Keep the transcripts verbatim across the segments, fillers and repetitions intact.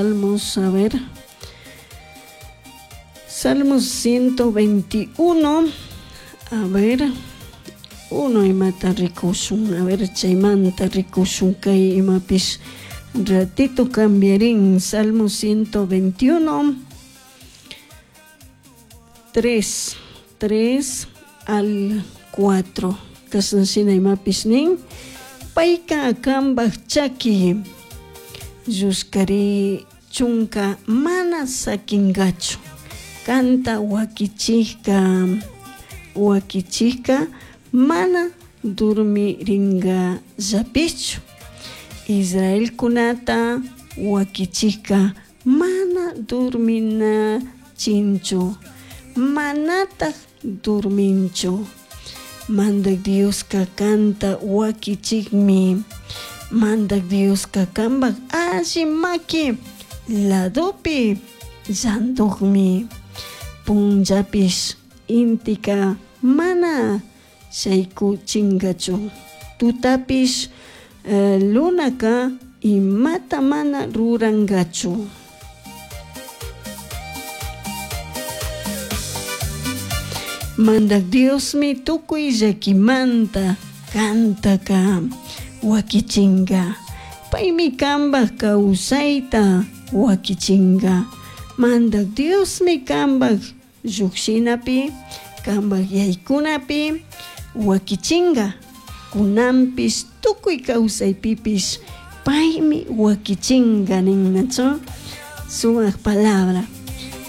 Salmos, a ver. Salmos ciento veintiuno, a ver. Uno imata rikushun, a ver, chaymanta rikushun kay imapish ratito cambiarín. Salmo ciento veintiuno, tres, tres al cuatro. Kashanshina imapish nin, payka kambaj chaki llushkari chunka mana sakingachu, kanta wakichijka wakichijka mana durmiringallapichu, Israelkunata wakichijka mana durminachinchu, manataj durminchu. Mandak Dioska kanta wakichikmi, Mandak Dioska kambaj alli maki ladopi llandukmi, punllapish intika mana shaykuchingachu, tutapish eh, lunaka imata mana rurangachu. Mandak Diosmi tukuy llakimanta kantaka wakichinga, paymi kambaj kawsayta wakichinga. Mandak Diosmi kambaj llukshinapi, kambaj yaykunapi wakichinga, kunanpish tukuy kawsaypipish paymi wakichinga ninnachu. Sumak palabra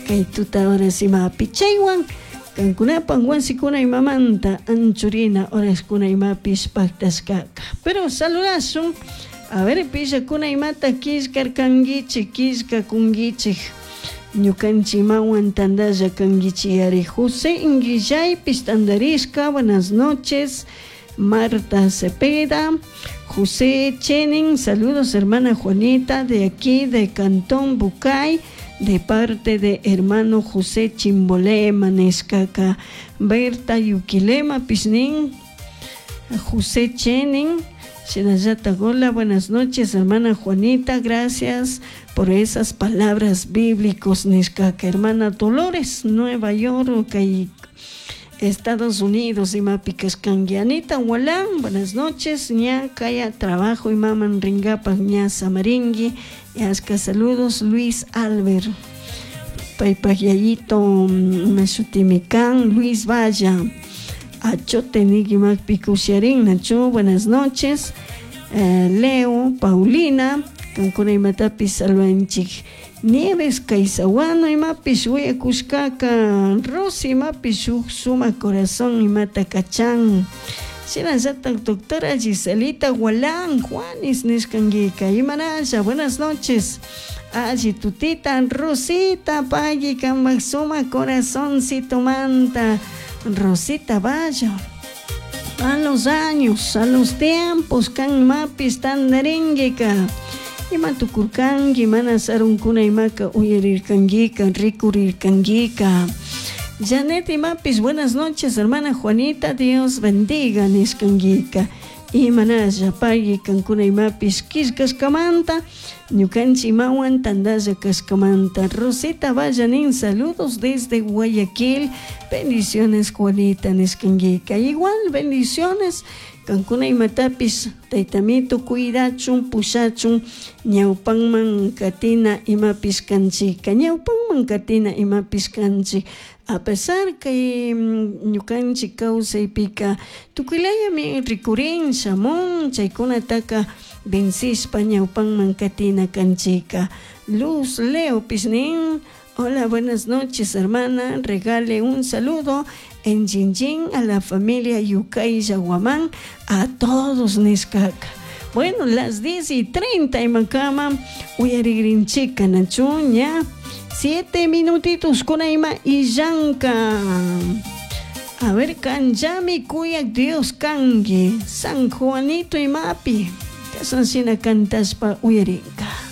kay tuta horas imapi chaywan kankunapak wasikuna imamanta anchurina horaskuna imapish paktashkaka. Pero saludashun, a ver, pillakuna imata killkarkankichik, killkakunkichik, ñukanchik imawan tandalla kankichik. José Inguillaypish tandarishka, buenas noches. Marta Cepeda, José Chenin, saludos hermana Juanita de aquí de Cantón Bucay, de parte de hermano José Chimbolema, Nescaca, Berta Yuquilema, Pisnín, José Chenin, Shinayata Gola, buenas noches hermana Juanita, gracias por esas palabras bíblicas, Nescaca, hermana Dolores, Nueva York, y Estados Unidos, imapicascanguianita, Walán, buenas noches, ña, kaya, trabajo, y maman ringapa, ña, samaringui, yasca, saludos, Luis Albert, paypayayito, meshutimicán, Luis Valla, achote, niguimac, nacho, buenas noches, eh, Leo, Paulina, cancuna imatapis, salvanchik, Nieves Kaisahuano imapish willakushkaka, Rosy imapish shuk suma corazón imata kachan, shinallata doctora Giselita Gualán, Juanis nishkanguika, imanalla, buenas noches, alli tutita, Rosita pagui kambak suma corazoncito manta, Rosita vaya, a los años, a los tiempos, kan mapis tandaringuika, ima tukurkanki, mana sarunkuna imaka uyarirkankika, rikurirkankika. Janet imapis, buenas noches, hermana Juanita, Dios bendiga nishkankika. Imanalla pagui kankuna imapis killkashkamanta, ñukanchik imawan tandalla kashkamanta. Rosita Vallanín, saludos desde Guayaquil, bendiciones Juanita nishkankika. Igual bendiciones kankuna imatapis taytamito cuidachun pushachun ñawpanman katina imapis kanchika, ñawpanman katina imapis kanchik. A pesar que ñukanchik kawsaypika tukuylayami rikurin shamun chaykunataka vencishpa ñawpanman katina kanchika. Luz Leo Pisnin, hola, buenas noches hermana, regale un saludo en Jinjin a la familia Yucay Yaguamán, a todos nishkaka. Bueno, las diez y treinta imakama uyarigrinchika nachuña, siete minutitos con ima y yanka. A ver, kanjami kuyak Dios kangi, San Juanito imapi, kasansina cantaspa uyarinka.